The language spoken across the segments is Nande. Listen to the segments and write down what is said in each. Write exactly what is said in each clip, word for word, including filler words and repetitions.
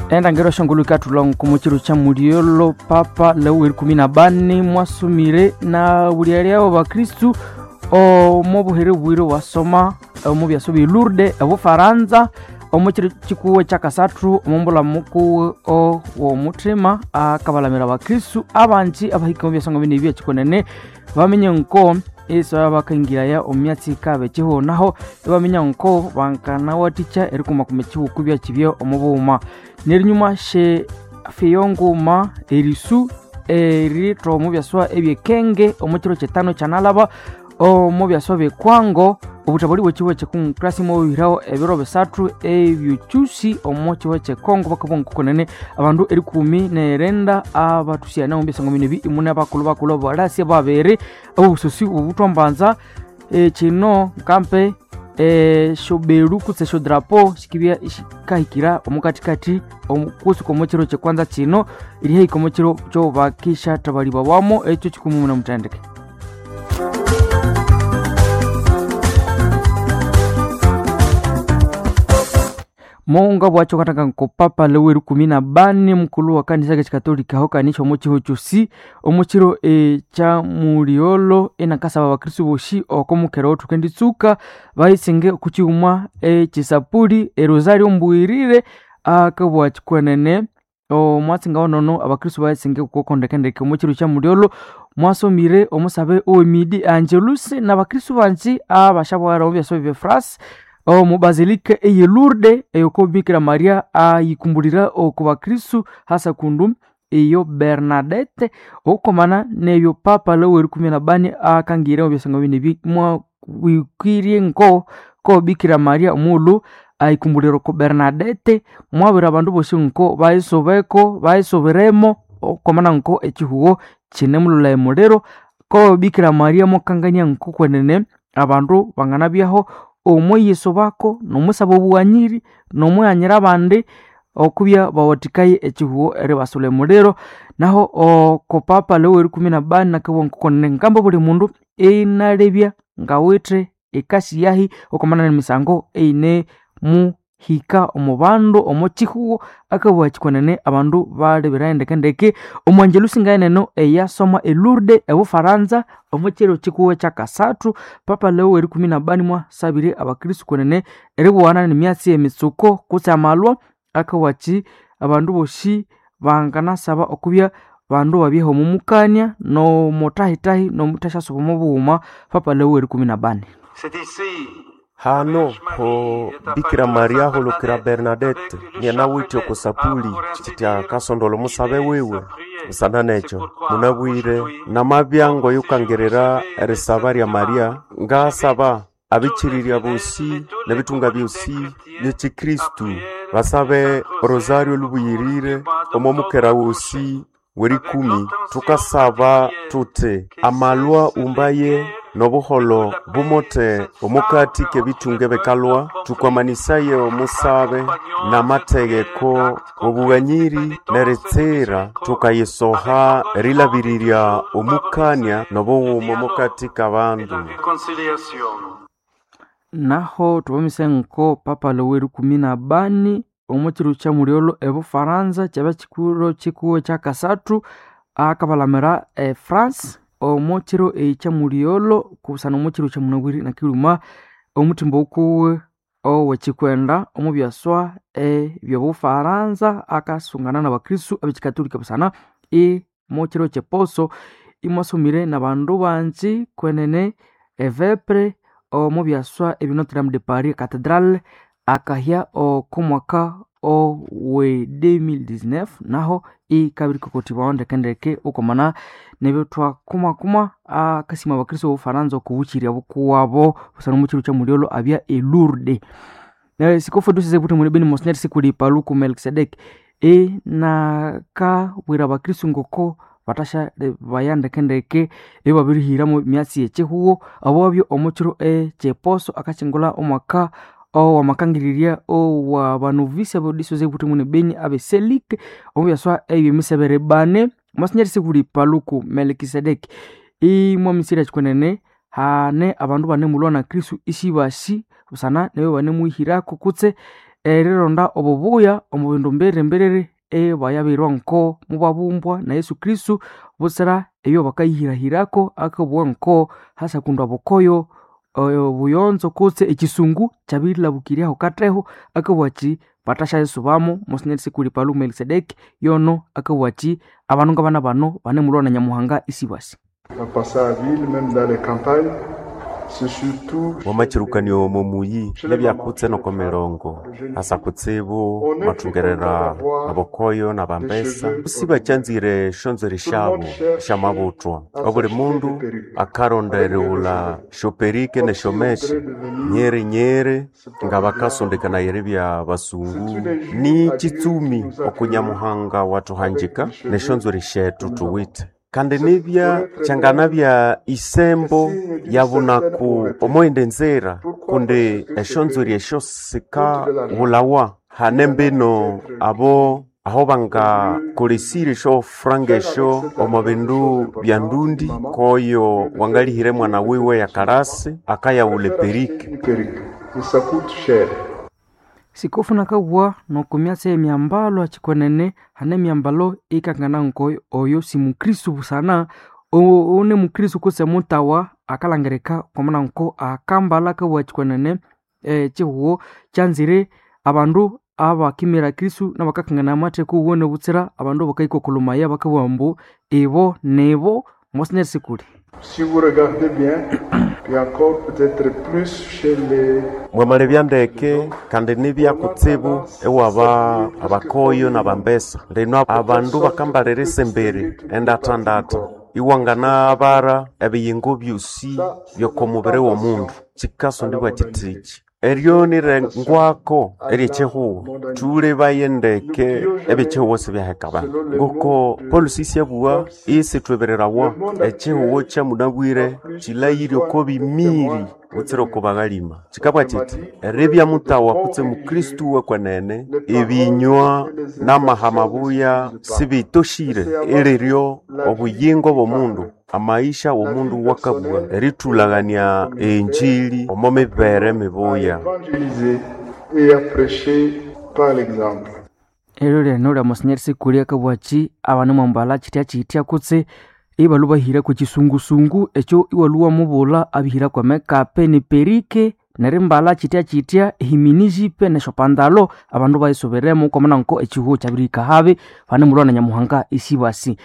Endangiro shongolo ikatulwa nkomo chiro cha muliolo Papa Leo erikumi na bane mwasumire na bulialyabo bakristu omo buhere bwire wasoma omo byaso bya Lourdes obufaransa omo chiro chikuwe kyakasathu omumbula mukuwe owomuthima akabalamira bakristu abanji abahika omu byasongo bine ebyekikonene bamenye nko iso bakingiraya omu myatsi ikabe ekiho naho ibaminya nko bankanawathikya erikumakuma ekihuku byakibye omu bughuma. Nerinyuma she fiyonguma erisu eritha omu byaswa ebyekenge omu kiro kyetano kyanalaba omu byaswa byekwango obuthabali bwekihugo kyekongrasi mwabihiraho ebiro bisathu ebyokyusi omu kihugo kyekongo bakabugha nkokonene abandu erikumi nerenda abathusyana omu byasango bino ebi imune abakulhu bakulhu abalasi babiri obusosi obuthwambanza kino nkampe esyoberu kutse esyodrapo sikibya sikahikira omukathikathi kusuka omu kiro kyekwanza kino erihahika omu kiro kyobakishathabalibwamo ekyo kikumi muna muthendeke. Monga bwacho katanga nko Papa Leo erikumi na bane mukulu wa kanisa kekikatolika aho kanisha omu kiho kyosi omu kiro ekya muliolo enakasaba abakristu bosi oko mukera othukenditsuka bayisinge okukighuma ekisapuli erosario mbuyirire akabugha kikwenene omwatsi ngawonono abakristu bayisinge okukondekendeke omu kiro kya muliolo mwasomire omusabe owemidi Angelus n'abakristu banji abashabwara omu byaswa bye France omu basilika eye Lourdes eyoko Bikira Maria ayikumbulira oku bakristu hasa kundu eyo Bernadette okukomana nebyo Papa Leo erikumi na bane akangire omu byasango bino ebi mwabwikirye nko ko Bikira Maria omughulhu ayikumbulira oko Bernadette mwabwira abandu bosi nko bayisobeko bayisoberemo okukomana nko ekihugo kinemulhulha emuliro ko Bikira Maria mwakangania nko kwenene abandu banganabyaho omwiyisobako nomusaba obughanyiri nomwighanyira abandi okubya bawathikaye ekihugo eribasulha emuliro. Naho oko Papa Leo erikumi na bane nakabugha nkokonene ngamba buli mundu inalebya ngawithe ekasi yahi okomana nemisango eyinemuhika omu bandu omu kihugo akabugha kikwenene abandu baleberayo ndekendeke. Omu Angelus ngayeneno eyasoma e Lourdes ebufaransa omu kiro kikuwe kyakasathu Papa Leo erikumi na bane mwasabire abakristu kwenene eribughana nemyatsi emitsuko kutse amalwa akabugha abandu bosi banganasaba okubya bandu babyeha omu mukania nomutahitahi nomuthasyasuba omu bughuma. Papa Leo erikumi na bane Hano ho Bikira Maria holokera Bernadette nyanawithe oko sapuli chitya kasondola omusabe wiwe busana nekyo munabwire namabya ngoyukangirira erisaba lya Maria ngasaba abichirirya bosi nebitunga byosi byekikristu basabe rosario lubuyirire omo mukera wosi werikumi tukasaba tuti amalwa umbaye nobuholo bumote omukati kebitunga bekalwa tukwamanisaye omusabe namategeko obughanyiri neritsira tukayisoha erilabirirya omukania nobughuma omukati kabandu. Naho tubamise nko Papa Leo erikumi na bane omu kiro kya muliolo ebufaransa kyaba kikuro kikuwe kyakasathu akabalamira e France omu kiro ekya muliolo kusana omu kiro kya munabwiri nakiluma omuthimba okuwe owekikwenda omu byaswa ebyobufaransa akasungana n'abakristu abekikatolika busana omu kiro kyeposo imwasomire n'abandu banji kwenene evepre omu byaswa ebya Notre Dame de Paris Cathedral akahya oko mwaka owe elfu mbili na kumi na tisa naho ikabirikokotibwaho ndekendeke okomana nebyo thwakumakuma akasima abakristo bobufaransa okubukirya bukuwabo busana omu kiro kya muliolo abya e Lourdes. Sikofu dusese buthi muli beni Monsignor Sikuli Paluku Melkisedek enakabwira abakristo ngoko batasha baya ndekendeke ebabirihiramu emyatsi yekihugo abwabyo omu kiro ekyeposo akakyingulha omwaka owamakangirirya owabanovisi abodisose buthi muni beni abeselike omu byaswa ebyemisebere bane Monsignor Sikuli Paluku Melkisedek imwamisirya kikwenene hane abandu banemulwa na Kristu isibasi busana nebyo banemuhirako kutse erironda obubuya omu bindu mbiri-mbiriri ebayabirwa nko mubabumbwa na Yesu Kristu butsira ebyo bakayihirahirako akabugha nko hasakundwa bukoyo obuyonzo kutse ekisungu kyabirilhabukiryaho katheho akabugha athi bathasyayisobamo. Monsinyeri Sikuli Paluku Melkisedeki yono akabugha athi abandu ngabana bano banemulwa na Nyamuhanga isibasi. Wamachirukanio omo muyi nebyakutse noko mirongo asa kutsibu mathungerera abokoyo nabambesa sibakyanzire shonzere shabo shamabuthwa. Obuli mundu akaronda erighulha shoperike neshomeshe nyeri nyeri nga bakasondekanaya eribya basungu. Ni kitsumi okunyamuhanga wathuhangika neshonzweri shethu thuwithe kandi nibya kyanganabya isembo yabunaku omoyindi nzira kundi eshonzweri esyo sikaghulhawa. Hane mbino abo aho bangakolesire esyofuranga esyo omo bindu bya ndundi koyo wangalihire mwana wiwe yakalasi akayaghulha eperike. Sikofu nakabugha nokumyatsi ey'emyambalo akikwenene hane emyambalo ikangana nko oyo si mukristu busana one mukristu kutse mutawa akalangirika kwamana nko akambalha akabugha kikwenene ekihugho kyanzire abandu abakimira Kristu nabakakangana amatheko wuwene butsira abandu abakayikokolomaya bakabugha ambu ibo nibo. Monsinyeri Sikuli. Si vous regardez bien, et encore peut-être plus chez les Mwamalebya ndeke kandi nibya kutsibu ewaba abakoyo nabambesa. Lino abandu bakambalira esemberi endathandatha iwanganabara ebiyingo byosi byokomubiri w'omundu. Kikasondibwa kithiki eryo nirengwako ery'ekihugho thulebaye ndeke eby'ekihugho sibyaheka abandu. Ngoko polisi isyabugha isithwebererawa ekihugho kyamunabwire kilayire oko bimiri butsira oko baghalima. Kikabugha kithi eribya mutawa kutse mukristu wekwenene ebinywa n'amaha mabuya sibitoshire eliryo obuyingo bw'omundu amaisha w'omundu wakabugha erithulagania enjili omo mibere mibuya. Et à prêcher par l'exemple. Eryo lyene lya Monsinyeri Sikuli akabugha athi abanimwambalha kyithya kyithya kutse ibalhwa bahirako ekisungusungu ekyo iwalhwa wamubulha abihirako emekape neperike nerimbalha kyithya kyithya ehiminijipe nesyopandalo abandu bayisoberemo kwamana nko ekihugho kyabirihika habi banemulwa na Nyamuhanga isibasi.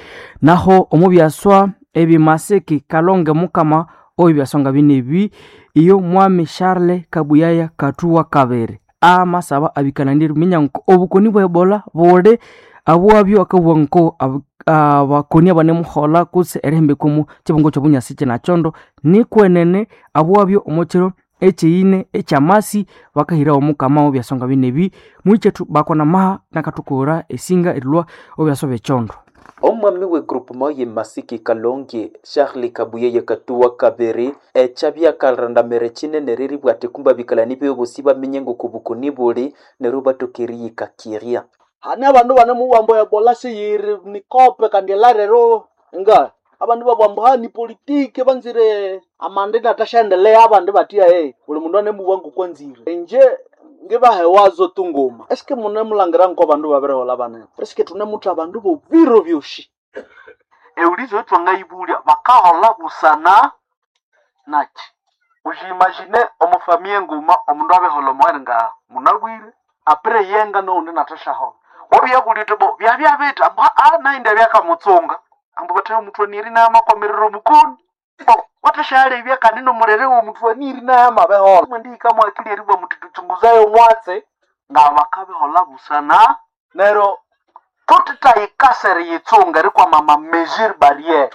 Naho omo byaswa ebimasiki Kalonge Mukama oyo byaswa nga binebi iyo Mwami Charles Kabuyaya Kathuwa Kabere amasaba abikananire eriminya nko obukoni bwa Ebola buli abwabyo akabugha nko abakoni abanemuholha kutse erihembeka omu kibungo ky'obunyasi kinakyondo nikwenene abwabyo omo kiro ekyeyine ekyamasi bakahirawo Omukama obyaswa nga binebi mwikethu bakona maha nakathukughura esinga erilhwa obyaswa byekyondo. Omwami we groupement ye Masiki Kalonge Charles Kabuyeye Katuwa Kabere ekyabyakalirandamere kinene riribwa ati kumba bikalani byobosi bamenye ngokubukoni buli neryo batokeriyikakirya. Hane abandu banemubwambo Ebola siyiri nikope kandi elarero nga abandu babwambo ha ni politike banzire amanda inathasyaendelea abandi batya eh buli mundu anemubwa ngokwanzire. Inje ngibahewazo tunguma eske munemulangira nko bandu babiriholha banene eske thunemutha abandu bobiro byosi eulizo ethwangayibulya bakaholha busana naki ujiimagine omufamiya enguma omundu abiholha omugheni nga munabwire apire yenga nowundi nathasyaholha wabyabulya uthi bo byabya bithi ambu aa naindi abyakamutsunga ambu bathe omuthwaniri naye amakwamirira omukoni bo wathasyalebya kandi nomurere w'omuthwaniri naye amabiholha mwendihika mwakili eribwa muthi thuchunguzayo omwatsi nga bakabiholha busana neryo thuthithayikasa eriyitsunga erikwama ama mesure barriere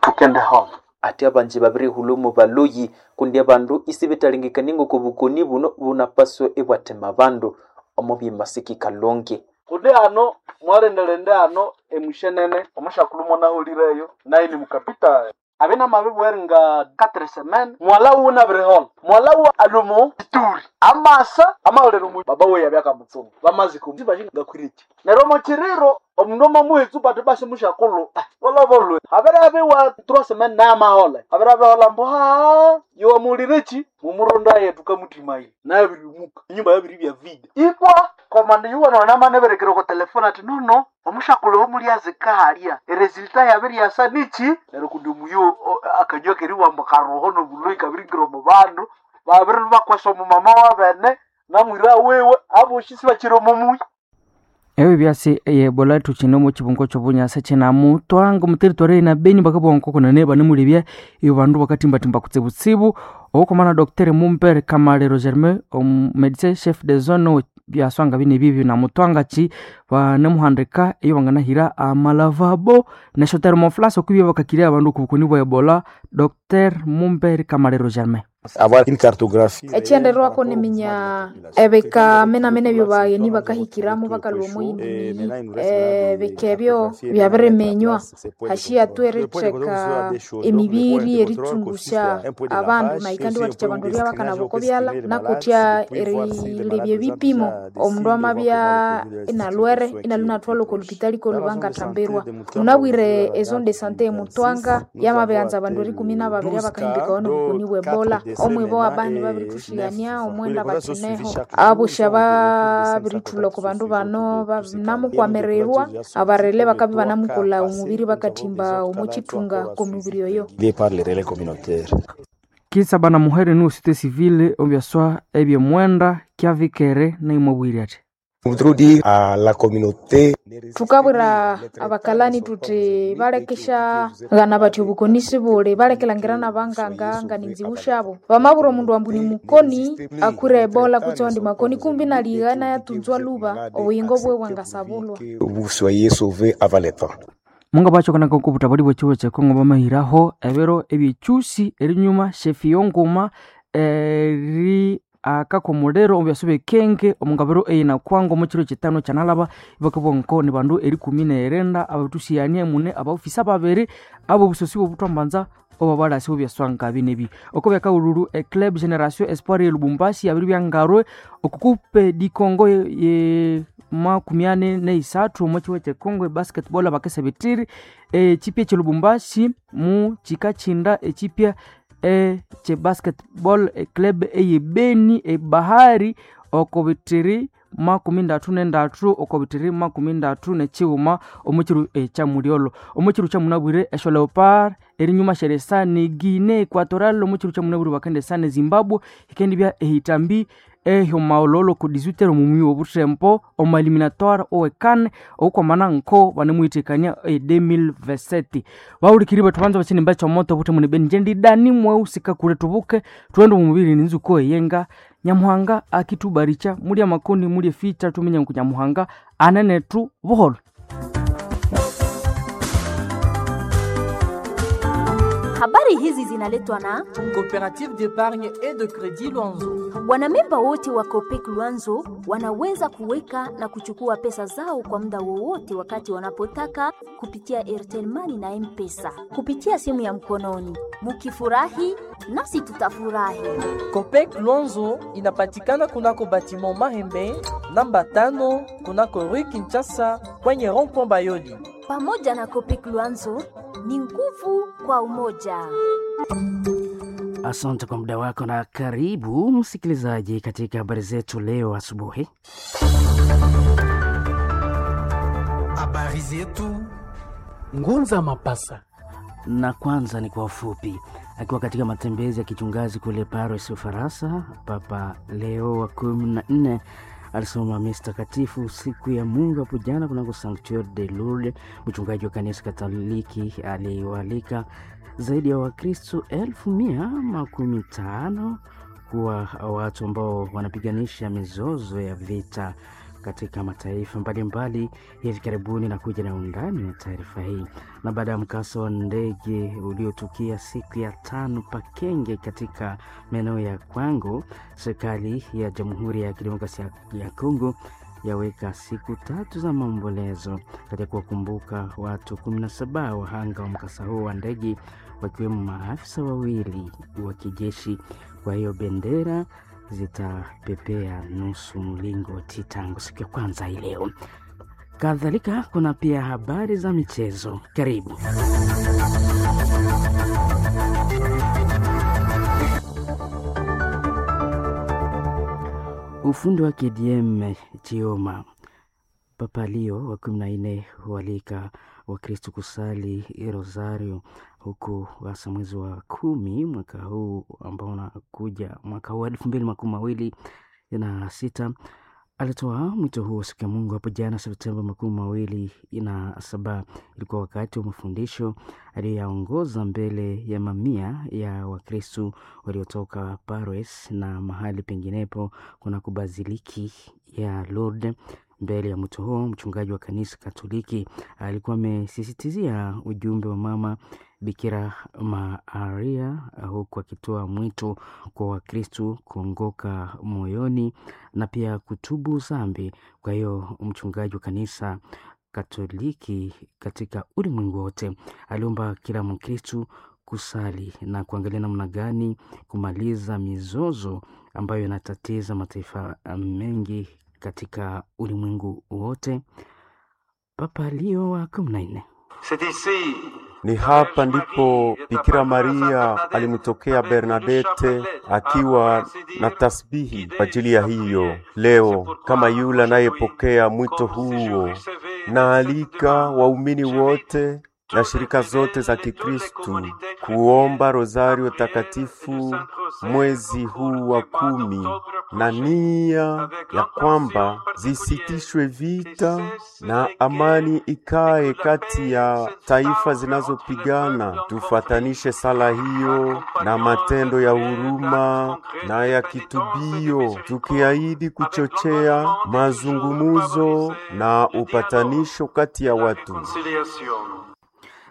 thukendiholha. Ati abanji babirihulha baloyi kundi abandu isibethalengekania ngokobukoni buno bunapaswa ibwathema abandu omo byemasiki Kalonge. Kundi hano mwalendelende hano emushenene omushakulhu mwanahulireyo naye ni mukapita Abe namabibwera nga quatre semaines mwala wuwe nabirihola mwala wuwe alumu ituri amasa amaholera omu baba we yabyakamutsuma bamaziko ngakwiriki neryo omukiriro omundu omamuhetsu bati basi mushakulhu walabolwe abere abiwa trois semaines namahole abere abihola mbu ha yowamuwulireki mumurunda yetu kamutimai nabirimuka enyumba yabiri bya vida ibwa komanda yuwanonamaneberekere ko telefone ati nono omushakulhu omulyazika halya eresulta yabiryasa niki neryo kundi omuyo akanywa keriwamba karoho nobuloi kabiringira omu bandu babiri bakwasa omumama wabene namwira wewe aboshi sibakiri omumuyi Ebyo byasi ebola thukyine omu kibungo kyobunyasa kyenamutwanga omu territory na Beni bakabugha nkokunene banemulebya ibyo bandu bakatimbatimba kutsibutsibu owokomana Doctor Mumbere Kamalero Germain omumedecin chef de zone byaswanga bine bibyo namutwanga ki banemuhandika iyo banganahira amalavabo nesyo thermoflask okwibya bakakirya abandu okubukoni bwa ebola. Doctor Mumbere Kamalero Germain avoir une cartographie ekyenderwako niminya ebika menamene ebyo bagheni bakahikiramu bakalhwa omuhindi ebika ebyo byabiriminywa hashiya tu eritheka emibiri eritsungusya abandu nayi kandi wathikya abandu eribya bakanaba oko byalha nakutya erilebya ebipimo omundu amabya inalwere inalwa inathwalwa oko lupitali kolhu bangathambirwa. Munabwire ezone de sante emutwanga yamabighanza abandu erikumi nababiri abakahindikawa nobukoni bwe ebola omwibo abandi babirithushigania omwenda bakineho abosya babirithulha oko bandu bano banamukwamirirwa abarele bakabya banamukolha omubiri bakathimba omukyithunga kwomubiri oyo. Kisa bana muhere ni société civile obyaswa ebyemwenda kyavikere naimwabwire ati Thukabwira abakalani thuthi balekesya ghana bathi obukoni sibuli balekelhangira nabanganga nganinziwu syabo bamabwira omundu ambu ni mukoni akwire ebola kutse awandi makoni kumbi naligha inayatunzwa lhuba obuyingo bwiwe bwangasabulwa. Munga bachokanaka okubuthabali bwekihuho kyekongo bamahiraho ebiro ebyekyusi erinyuma shefiyo nguma eri akaka omuliro omu byasa byekenge omungabiro eyinakwango omukiro kitano kyanalaba ibakabugha nko ni bandu erikumi nerenda abathusigania mune abaofisa babiri abobusosi bobuthwambanza obabalasi bobyaswanga binebi oko byakaghululu eclub generation espoir ye Lubumbashi yabiri byangarwe okukupe di Congo ye makumi ane neisathu omo kihuho kyekongo ebasketball abakesa bithiri ekipya ekye Lubumbashi mu kikathinda ekipya ekye basketball eclub eye Beni ebahari oko bithiri makumi ndathu nendathu oko bithiri makumi ndathu nekighuma omu kiro ekyamulyolho. Omu kiro kyamunabwire esyo leopard erinyuma syeresa ne Guinea Equatorial omu kiro kyamunabwire bakendesa ne Zimbabwe ikendibya ehitambi ehyomaololo ku dix-huit heures omumuyi wobuthembo omu eliminatoire owe CAN okwamana nko banemuhithikania e deux mille vingt-sept. Bahulikiri bethu banza bakyinimba ekyomoto obuthemu ne Beni ngyendidani mweghusika kule tubuke thughende omu mubiri ninzuko eyenga Nyamuhanga akithubarikya mulya amakoni mulya eficha thuminye ngu Nyamuhanga anenethu buholho. Habari hizi zinaletwa na Coopérative d'épargne et de crédit Luanzo. Wanamemba wote wa Copec Luanzo wanaweza kuweka na kuchukua pesa zao kwa muda wowote wakati wanapotaka kupitia Airtel Money na M-Pesa kupitia simu ya mkononi. Mukifurahi nasi tutafurahi. Copec Luanzo inapatikana kunako batiment Mahembe namba tano kunako Rue Kinshasa kwenye rond-point Bayoli. Pamoja na Copec Luanzo ni nguvu kwa umoja. Asante kwa muda wako na karibu msikilizaji katika habari zetu leo asubuhi. Habari zetu Ngunza Mapasa. Na kwanza ni kwa ufupi. Akiwa katika matembezi ya kichungazi kule Paris, Ufaransa, Papa Leo wa kumi na nne alisoma misa takatifu siku ya Mungu hapo jana kunako Sanctuaire de Lourdes. Mchungaji wa kanisa Katoliki aliwaalika zaidi ya Wakristo elfu mia makumi tano kuwa watu ambao wanapiganisha mizozo ya vita katika mataifa mbalimbali hivi karibuni. Na kuja na undani wa taarifa hii. Na baada ya mkasa wa ndege uliotukia siku ya tano Pakenge katika maeneo ya Kwango, serikali ya Jamhuri ya Kidemokrasia ya Kongo yaweka siku tatu za maombolezo katika kuwakumbuka watu kumi na saba wahanga wa mkasa huo wa ndege, wakiwemo maafisa wawili wa kijeshi. Kwa hiyo bendera zitapepea nusu mlingoti tangu siku ya kwanza hii leo. Kadhalika kuna pia habari za michezo. Karibu. Ufundi wa K D M Chioma. Papa Leo wa kumi na nne hualika Wakristo kusali rosario huku hasa mwezi wa kumi mwaka huu ambao unakuja mwaka huu elfu mbili makumi mawili na sita. Alitoa mwito huo siku ya Mungu hapo jana Septemba makumi mawili na saba. Ilikuwa wakati wa mafundisho aliyoyaongoza mbele ya mamia ya Wakristo waliotoka Paris na mahali penginepo kunako baziliki ya Lourdes. Mbele ya mwito huo, mchungaji wa kanisa Katoliki alikuwa amesisitizia ujumbe wa Mama Bikira Maria, huku akitoa mwito kwa Wakristo kuongoka moyoni na pia kutubu dhambi. Kwa hiyo mchungaji wa kanisa Katoliki katika ulimwengu wote aliomba kila Mkristo kusali na kuangalia namna gani kumaliza mizozo ambayo inatatiza mataifa mengi katika ulimwengu wote. Papa Leo wa kumi na nne. Ni hapa ndipo Bikira Maria alimtokea Bernadette akiwa na tasbihi kwa ajili ya hiyo. Leo kama yule anayepokea mwito huo, naalika waumini wote na shirika zote za Kikristu kuomba rosario takatifu mwezi huu wa kumi, na nia ya kwamba zisitishwe vita na amani ikae kati ya taifa zinazopigana. Tufuatanishe sala hiyo na matendo ya huruma na ya kitubio, tukiahidi kuchochea mazungumuzo na upatanisho kati ya watu.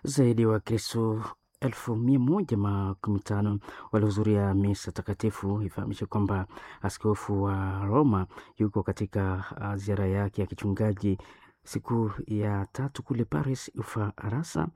Zaidi ya Wakristo elfu mia moja makumi tano walihudhuria misa takatifu. Ifahamishe kwamba askofu wa Roma yuko katika ziara yake ya kichungaji siku ya tatu kule Paris, Ufaransa.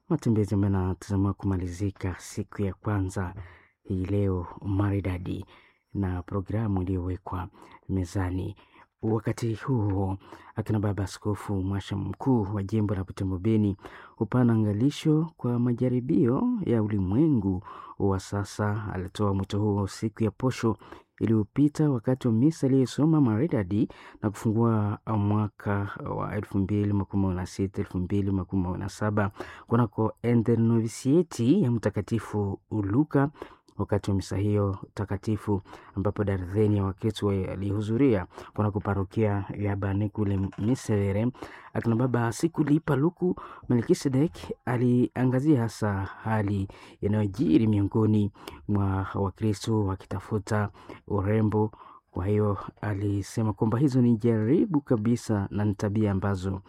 Matembezi ambayo yanatazamiwa kumalizika siku ya kwanza hii leo maridadi na programu iliyowekwa mezani. Wakati huo akina baba askofu mwasha mkuu wa jimbo la Butembo Beni hupana angalisho kwa majaribio ya ulimwengu wa sasa. Alitoa mwito huo siku ya posho iliyopita wakati wa misa aliyosoma maridadi na kufungua mwaka wa elfu mbili makumi na sita elfu mbili makumi na saba kunako Enternovisieti ya Mtakatifu Luka. Wakati wa misa hiyo takatifu ambapo darzeni ya Wakristo walihudhuria kunako parokia ya Bane kule Miserere, akina baba Sikulipa Luku Melkisedek aliangazia hasa hali inayojiri miongoni mwa Wakristo wakitafuta urembo. Kwa hiyo alisema kwamba hizo ni jaribu kabisa na ni tabia ambazo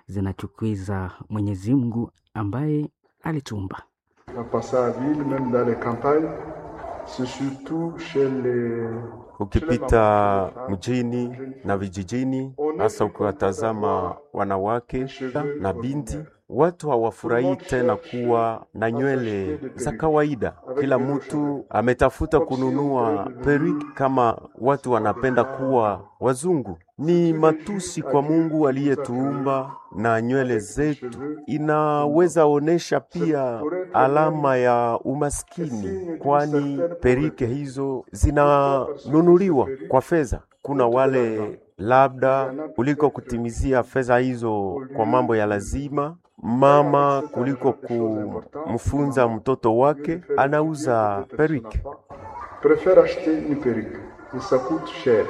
zinachukiza Mwenyezi Mungu ambaye alituumba. Ukipita mjini na vijijini, hasa ukiwatazama wanawake na binti, watu hawafurahii tena kuwa na nywele za kawaida. Kila mtu ametafuta kununua periki kama watu wanapenda kuwa wazungu. Ni matusi kwa Mungu aliyetuumba na nywele zetu inaweza onesha pia alama ya umaskini, kwani perike hizo zinanunuliwa kwa fedha. Kuna wale labda kuliko kutimizia fedha hizo kwa mambo ya lazima, mama kuliko kumfunza mtoto wake anauza perike. Préfère acheter une perruque et ça coûte cher.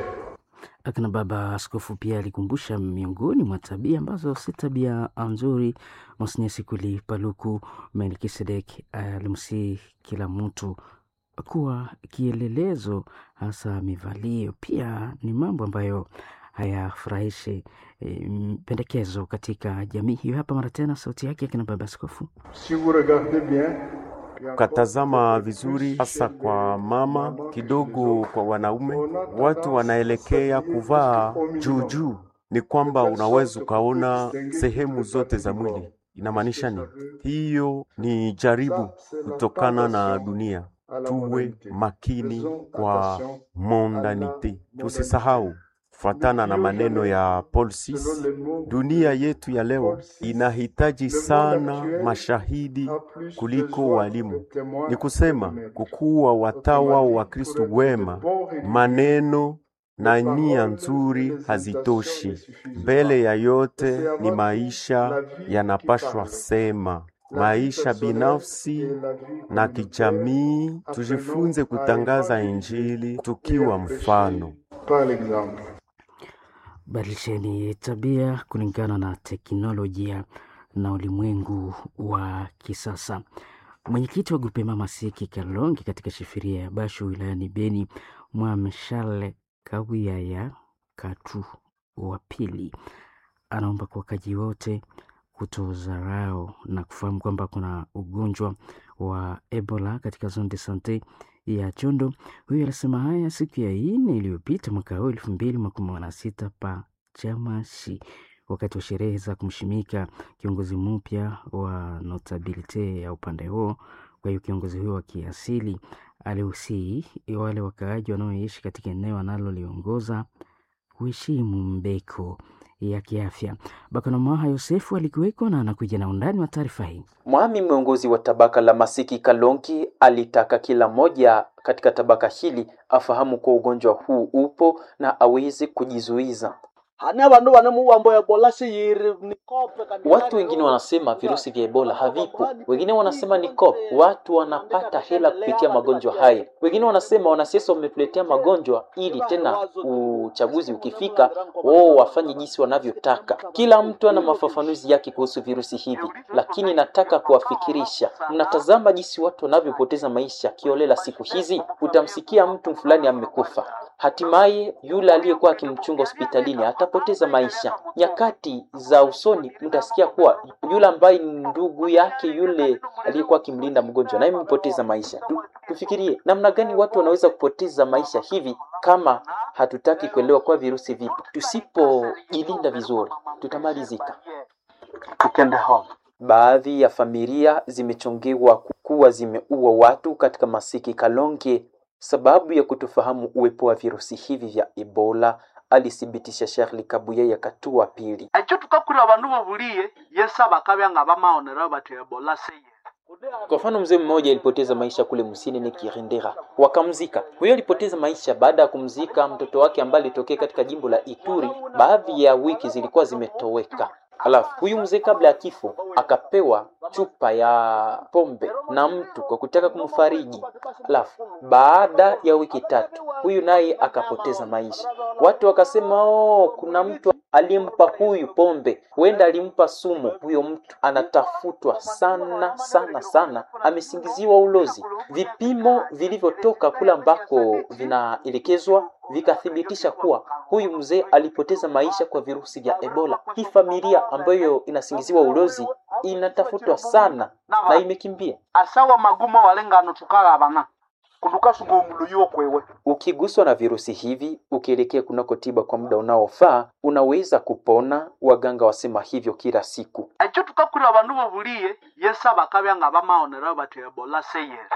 Akina baba askofu pia alikumbusha miongoni mwa tabia ambazo si tabia nzuri. Monsinyeri Sikuli Paluku Melkisedek alimsihi kila mtu kuwa kielelezo, hasa mivalio pia ni mambo ambayo hayafurahishi e, pendekezo katika jamii hiyo. Hapa mara tena sauti yake akina baba askofu. Si vous regardez bien, Ukatazama vizuri, hasa kwa mama kidogo, kwa wanaume, watu wanaelekea kuvaa juu juu. Ni kwamba unaweza ukaona sehemu zote za mwili. Inamaanisha nini? Hiyo ni jaribu kutokana na dunia. Tuwe makini kwa mondanite, tusisahau fuatana na maneno ya Paul six, dunia yetu ya leo inahitaji sana mashahidi kuliko walimu. Ni kusema kukuwa watawa wa Kristo wema, maneno na nia nzuri hazitoshi. Mbele ya yote ni maisha yanapashwa sema, maisha binafsi na kijamii. Tujifunze kutangaza Injili tukiwa mfano. Badilisheni tabia kulingana na teknolojia na ulimwengu wa kisasa. Mwenyekiti wa Grupema Masiki Kalongi katika shifiria ya Bashu wilayani Beni, Mwame Charles Kawiyaya Katu wa pili anaomba kwa wakaji wote kutozarau na kufahamu kwamba kuna ugonjwa wa Ebola katika zone de sante ya Chondo. Huyu alisema haya siku ya nne iliyopita mwaka huu elfu mbili makumi na sita pa Chamashi wakati wa sherehe za kumshimika kiongozi mpya wa notabilite ya upande huo. Kwa hiyo kiongozi huyo wa kiasili aliusii wale wakaaji wanaoishi katika eneo analoliongoza kuheshimu mbeko ya kiafya. Bakanamaha Yosefu alikuweko na anakuja na undani wa taarifa hii. Mwami mwongozi wa tabaka la Masiki Kalonki alitaka kila mmoja katika tabaka hili afahamu kuwa ugonjwa huu upo na aweze kujizuiza. Hane abandu banemuwambo Ebola siyiri nikope. Watu wengine wanasema virusi vya Ebola havipo, wengine wanasema ni COP. Watu wanapata hela kupitia magonjwa haya, wengine wanasema wanasiasa wametuletea magonjwa ili tena uchaguzi ukifika wao wafanye jinsi wanavyotaka. Kila mtu ana mafafanuzi yake kuhusu virusi hivi, lakini nataka kuwafikirisha. Mnatazama jinsi watu wanavyopoteza maisha kiolela siku hizi. Utamsikia mtu fulani amekufa, hatimaye yule aliyekuwa akimchunga hospitalini atapoteza maisha. Nyakati za usoni mtasikia kuwa yule ambaye ni ndugu yake yule aliyekuwa akimlinda mgonjwa naye amepoteza maisha. Tu, tufikirie namna gani watu wanaweza kupoteza maisha hivi kama hatutaki kuelewa kwa virusi vipo. Tusipojilinda vizuri, tutamalizika. Tukende home. Baadhi ya familia zimechongewa kuwa zimeua watu katika Masiki Kalonge sababu ya kutofahamu uwepo wa virusi hivi vya Ebola, alithibitisha Charles Kabuye ya Katua pili. Ekyo tukakura abandu bobuliye yesa bakabya nga bamaonera bati Ebola seye. Kwa mfano, mzee mmoja alipoteza maisha kule Musini ni Kirindera, wakamzika. Huyo alipoteza maisha baada ya kumzika mtoto wake ambaye alitokea katika jimbo la Ituri. Baadhi ya wiki zilikuwa zimetoweka. Halafu huyu mzee kabla ya kifo akapewa chupa ya pombe na mtu kwa kutaka kumfariji. Halafu baada ya wiki tatu huyu naye akapoteza maisha. Watu wakasema oh, kuna mtu aliyempa huyu pombe, huenda alimpa sumu. Huyo mtu anatafutwa sana sana sana, amesingiziwa ulozi. Vipimo vilivyotoka kule ambako vinaelekezwa vikathibitisha kuwa huyu mzee alipoteza maisha kwa virusi vya Ebola. Hii familia ambayo inasingiziwa ulozi inatafutwa sana na imekimbia. Asawa magumo walengano tukalabana kundukasunga omuluyi kwewe. Ukiguswa na virusi hivi ukielekea kunako tiba kwa muda unaofaa unaweza kupona, waganga wasema hivyo kila siku. Ekyo tukakura abandu bobuliye yesa bakabya nga bamaonera bati Ebola seyere.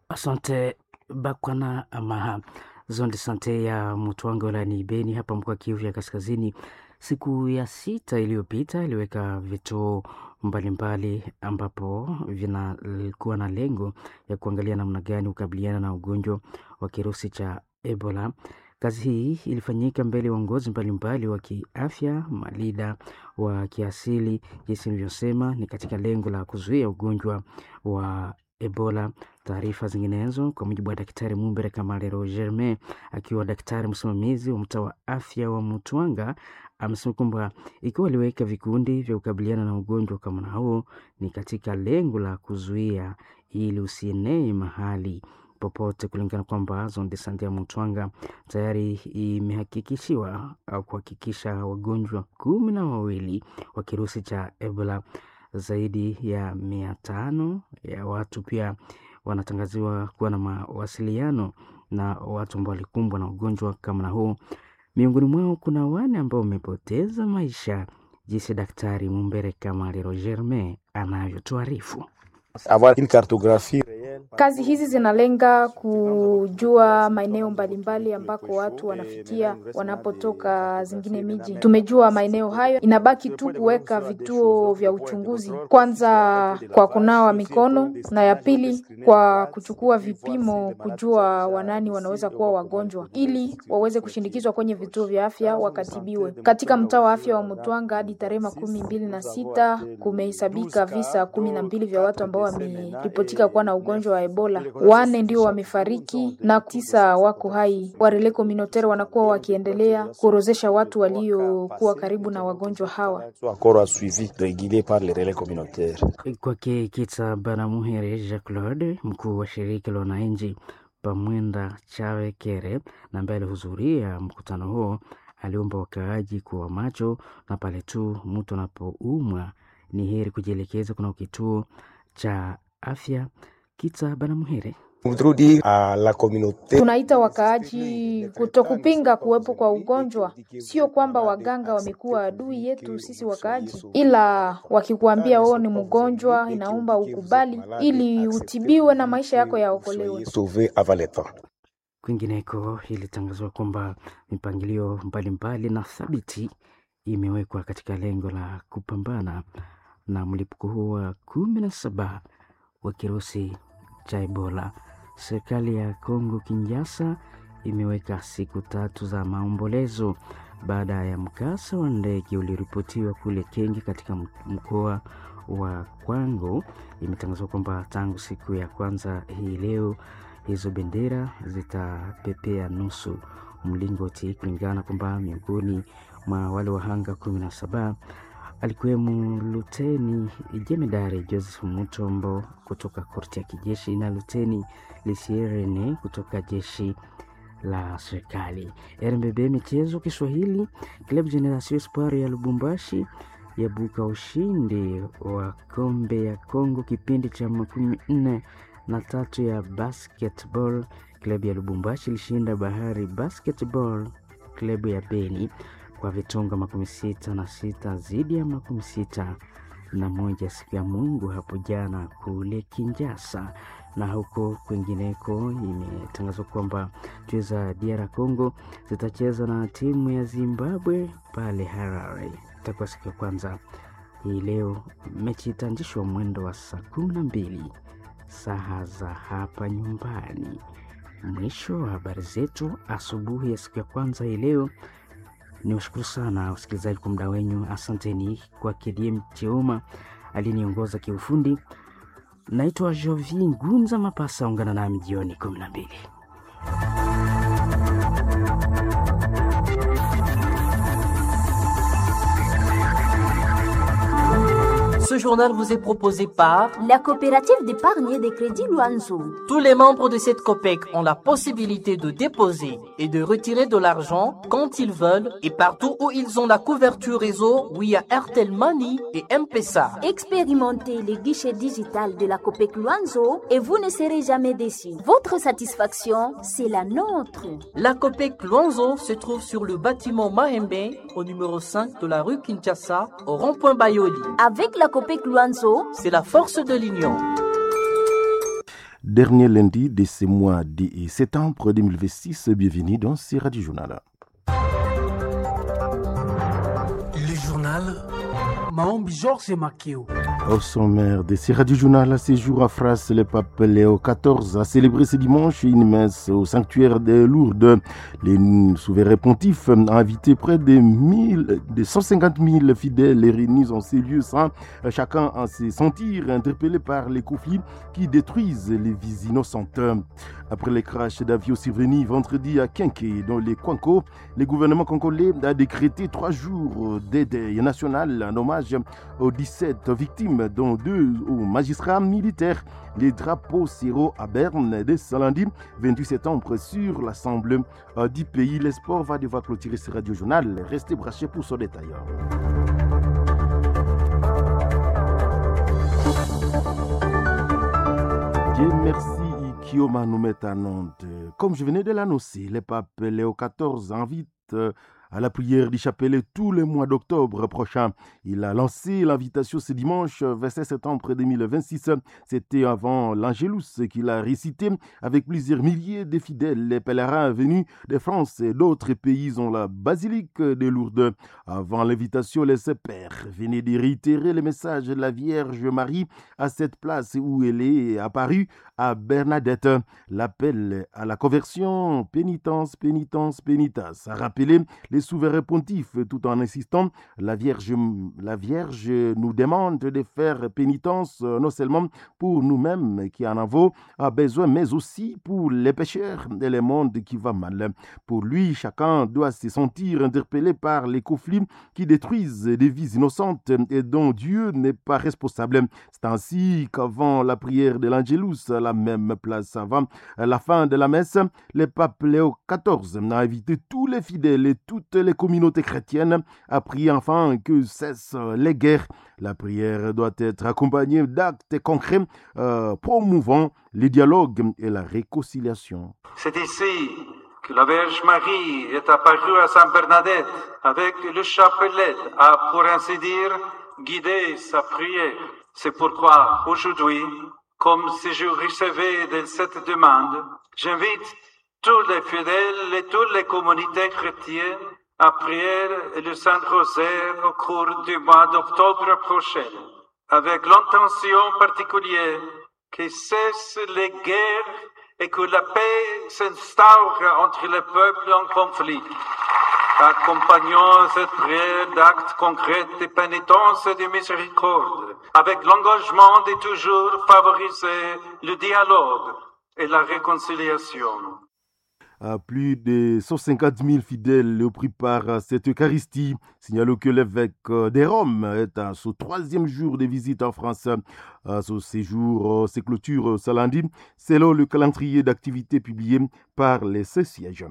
Asante Bakwana Amaha. Zone de sante ya Mutwanga wilayani Beni hapa mkoa Kivu ya Kaskazini, siku ya sita iliyopita iliweka vituo mbalimbali ambapo vinakuwa na lengo ya kuangalia namna gani kukabiliana na ugonjwa wa kirusi cha Ebola. Kazi hii ilifanyika mbele ya uongozi mbalimbali wa kiafya, malida wa kiasili, jinsi nilivyosema, ni katika lengo la kuzuia ugonjwa wa Ebola. Taarifa zinginezo kwa mujibu wa Daktari Mumbere Kamalero Germain, akiwa daktari msimamizi wa mtaa wa afya wa Mutwanga, amesema kwamba ikiwa aliweka vikundi vya kukabiliana na ugonjwa kama na huo ni katika lengo la kuzuia ili usienee mahali popote, kulingana kwamba zone de sante ya Mutwanga tayari imehakikishiwa au kuhakikisha wagonjwa kumi na wawili wa kirusi cha Ebola. Zaidi ya mia tano ya watu pia wanatangaziwa kuwa na mawasiliano na watu ambao walikumbwa na ugonjwa kama na huu. Miongoni mwao kuna wane ambao wamepoteza maisha, jinsi Daktari Mumbere Kamaliro Germain anavyotuarifu. Kazi hizi zinalenga kujua maeneo mbalimbali ambako watu wanafikia wanapotoka zingine miji. Tumejua maeneo hayo, inabaki tu kuweka vituo vya uchunguzi, kwanza kwa kunawa mikono na ya pili kwa kuchukua vipimo, kujua wanani wanaweza kuwa wagonjwa, ili waweze kushindikizwa kwenye vituo vya afya wakatibiwe. Katika mtaa wa afya wa Mutwanga hadi tarehe makumi mbili na sita kumehesabika visa kumi na mbili vya watu ambao wameripotika kuwa na ugonjwa wa Ebola. Wane ndio wamefariki na tisa wako hai. Warele communautaire wanakuwa wakiendelea kuorozesha watu waliokuwa karibu na wagonjwa hawa. Kwake Kitsa Banamuhere Jacques Claude, mkuu wa shirika la wananchi Pamwenda Chawe Kere, na ambaye alihudhuria mkutano huo, aliomba wakaaji kuwa macho na pale tu mtu anapoumwa ni heri kujielekeza kuna kituo cha afya. Kitsa Banamuhere. Tunaita wakaaji kutokupinga kuwepo kwa ugonjwa. Sio kwamba waganga wamekuwa adui yetu sisi wakaaji, ila wakikuambia wewe ni mgonjwa, inaomba ukubali ili utibiwe na maisha yako yaokolewe. Kwingineko ilitangazwa kwamba mipangilio mbalimbali na thabiti imewekwa katika lengo la kupambana na mlipuko huo wa kumi na saba wa kirusi cha Ebola. Serikali ya Kongo Kinshasa imeweka siku tatu za maombolezo baada ya mkasa wa ndege ulioripotiwa kule Kenge katika mkoa wa Kwango. Imetangazwa kwamba tangu siku ya kwanza hii leo hizo bendera zitapepea nusu mlingoti, kulingana kwamba miongoni mwa wale wahanga kumi na saba alikuwemo Luteni Jemedari Joseph Mutombo kutoka korti ya kijeshi na Luteni Lisierene kutoka jeshi la serikali. R M B B Michezo Kiswahili, Club Generation Espoir ya Lubumbashi yabuka ushindi wa kombe ya Kongo kipindi cha makumi nne na tatu ya basketball. Klabu ya Lubumbashi ilishinda Bahari Basketball klabu ya Beni kwa vitonga makumi sita na sita dhidi ya makumi sita na moja siku ya Mungu hapo jana kule Kinshasa. Na huko kwingineko imetangazwa kwamba timu za D R Congo zitacheza na timu ya Zimbabwe pale Harare. Itakuwa siku ya kwanza hii leo. Mechi itaanzishwa mwendo wa saa kumi na mbili saa za hapa nyumbani. Mwisho wa habari zetu asubuhi ya siku ya kwanza hii leo. Ni washukuru sana wasikilizaji kwa muda wenyu. Asanteni kwa K D M Cheuma aliyeniongoza kiufundi. Naitwa Jovi Ngunza Mapasa, ungana nami jioni kumi na mbili. Ce journal vous est proposé par la coopérative d'épargne et de crédit Luanzo. Tous les membres de cette COPEC ont la possibilité de déposer et de retirer de l'argent quand ils veulent et partout où ils ont la couverture réseau via Airtel Money et M-Pesa. Expérimentez les guichets digital de la COPEC Luanzo et vous ne serez jamais déçus. Votre satisfaction, c'est la nôtre. La COPEC Luanzo se trouve sur le bâtiment Mahembe au numéro cinq de la rue Kinshasa au rond-point Bayoli. Avec la COPEC Luanzo, c'est la force de l'union. Dernier lundi de ce mois de septembre deux mille vingt-six, bienvenue dans ce Radio Journal. Le journal Maombi Georges Makeo. Au sommaire de ce Radio Journal, à ce jour à France, le pape Léo quatorze a célébré ce dimanche une messe au sanctuaire de Lourdes. Les souverains pontifes ont invité près de, mille, de cent cinquante mille fidèles réunis en ces lieux sans chacun en se sentir interpellé par les conflits qui détruisent les vies innocentes. Après les crashs d'avions survenus vendredi à Kienké, dans les Kwango, le gouvernement congolais a décrété trois jours d'aide nationale en hommage aux dix-sept victimes, dont deux aux magistrats militaires. Les drapeaux seront à Berne dès ce lundi vingt-huit septembre sur l'Assemblée du pays. Le sport va devoir clôturer ce radio journal. Restez branchés pour son détail. Dieu merci. Kioma nous met à Nantes. Comme je venais de l'annoncer, le pape Léo quatorze invite invite à la prière du chapelet tout le mois d'octobre prochain. Il a lancé l'invitation ce dimanche vingt-sept septembre deux mille vingt-six. C'était avant l'Angélus qu'il a récité avec plusieurs milliers de fidèles, les pèlerins venus de France et d'autres pays ont la basilique de Lourdes. Avant l'invitation, les pères venaient de réitérer le message de la Vierge Marie à cette place où elle est apparue à Bernadette. L'appel à la conversion, pénitence, pénitence, pénitence, a rappelé les souverains pontifes, tout en insistant, la Vierge, la Vierge nous demande de faire pénitence non seulement pour nous-mêmes qui en avons besoin, mais aussi pour les pécheurs et le monde qui va mal. Pour lui, chacun doit se sentir interpellé par les conflits qui détruisent des vies innocentes et dont Dieu n'est pas responsable. C'est ainsi qu'avant la prière de l'Angélus, à la même place avant la fin de la messe, le pape Léo quatorze a invité tous les fidèles et toutes les communautés chrétiennes à prier enfin que cessent les guerres. La prière doit être accompagnée d'actes concrets euh, promouvant les dialogues et la réconciliation. C'est ici que la Vierge Marie est apparue à Sainte Bernadette avec le chapelet, a pour ainsi dire guidé sa prière. C'est pourquoi aujourd'hui, comme si je recevais de cette demande, j'invite tous les fidèles et toutes les communautés chrétiennes à prier le Saint-Rosaire au cours du mois d'octobre prochain, avec l'intention particulière que cessent les guerres et que la paix s'instaure entre les peuples en conflit. Accompagnons cette prière d'actes concrets de pénitence et de miséricorde, avec l'engagement de toujours favoriser le dialogue et la réconciliation. À plus de cent cinquante mille fidèles pris par cette Eucharistie. Signalons que l'évêque de Rome est à son troisième jour de visite en France. À son séjour se clôture ce lundi, selon le calendrier d'activité publié par les Saint-Sièges.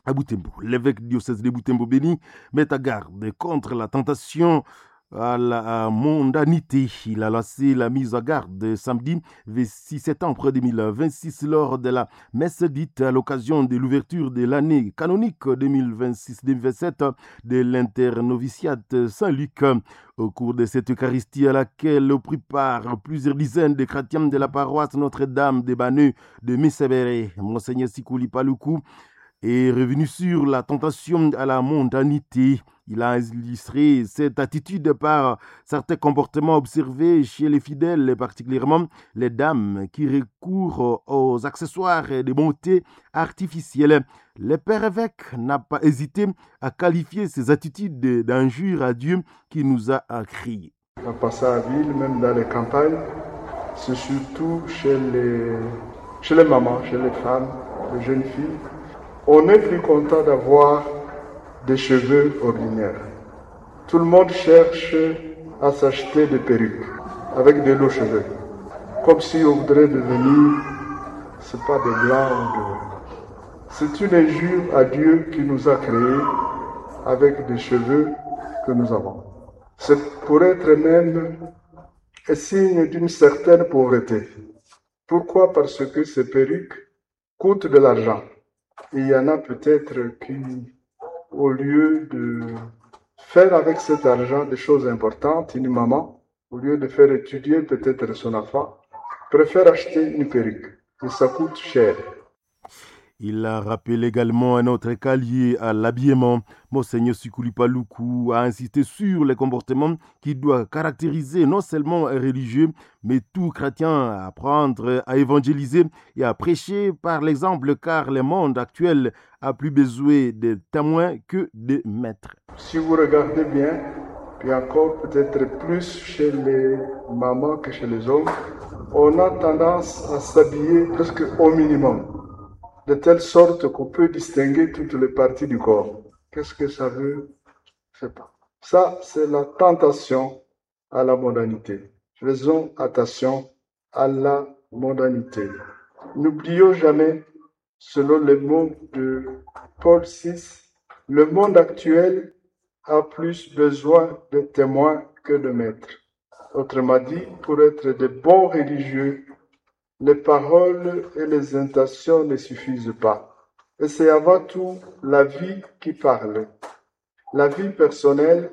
À Butembo, l'évêque diocèse de Butembo-Béni met à garde contre la tentation à la mondanité. Il a lancé la mise à garde samedi vingt-six septembre deux mille vingt-six lors de la messe dite à l'occasion de l'ouverture de l'année canonique deux mille vingt-six deux mille vingt-sept de l'internoviciat Saint-Luc. Au cours de cette Eucharistie à laquelle prit part plusieurs dizaines de chrétiens de la paroisse Notre-Dame des Banneux de Missébéré, Monseigneur Sikouli Paluku est revenu sur la tentation à la mondanité. Il a illustré cette attitude par certains comportements observés chez les fidèles, particulièrement les dames qui recourent aux accessoires de beauté artificielle. Le père évêque n'a pas hésité à qualifier ces attitudes d'injure à Dieu qui nous a créés. En passant à ville, même dans les campagnes, c'est surtout chez les, chez les mamans, chez les femmes, les jeunes filles. On est plus content d'avoir des cheveux ordinaires. Tout le monde cherche à s'acheter des perruques avec de l'eau cheveux. Comme si on voudrait devenir, c'est pas des blancs ou de... C'est une injure à Dieu qui nous a créés avec des cheveux que nous avons. C'est pour être même un signe d'une certaine pauvreté. Pourquoi? Parce que ces perruques coûtent de l'argent. Il y en a peut-être qui, au lieu de faire avec cet argent des choses importantes, une maman, au lieu de faire étudier peut-être son enfant, préfère acheter une perruque. Et ça coûte cher. Il a rappelé également un autre cas lié à l'habillement. Monseigneur Sikuli Paluku a insisté sur les comportements qui doivent caractériser non seulement un religieux, mais tout chrétien, à apprendre à évangéliser et à prêcher par l'exemple, car le monde actuel a plus besoin de témoins que de maîtres. Si vous regardez bien, puis encore peut-être plus chez les mamans que chez les hommes, on a tendance à s'habiller presque au minimum, de telle sorte qu'on peut distinguer toutes les parties du corps. Qu'est-ce que ça veut? Je ne sais pas. Ça, c'est la tentation à la mondanité. Faisons attention à la mondanité. N'oublions jamais, selon les mots de Paul six, le monde actuel a plus besoin de témoins que de maîtres. Autrement dit, pour être de bons religieux, les paroles et les intentions ne suffisent pas. Et c'est avant tout la vie qui parle, la vie personnelle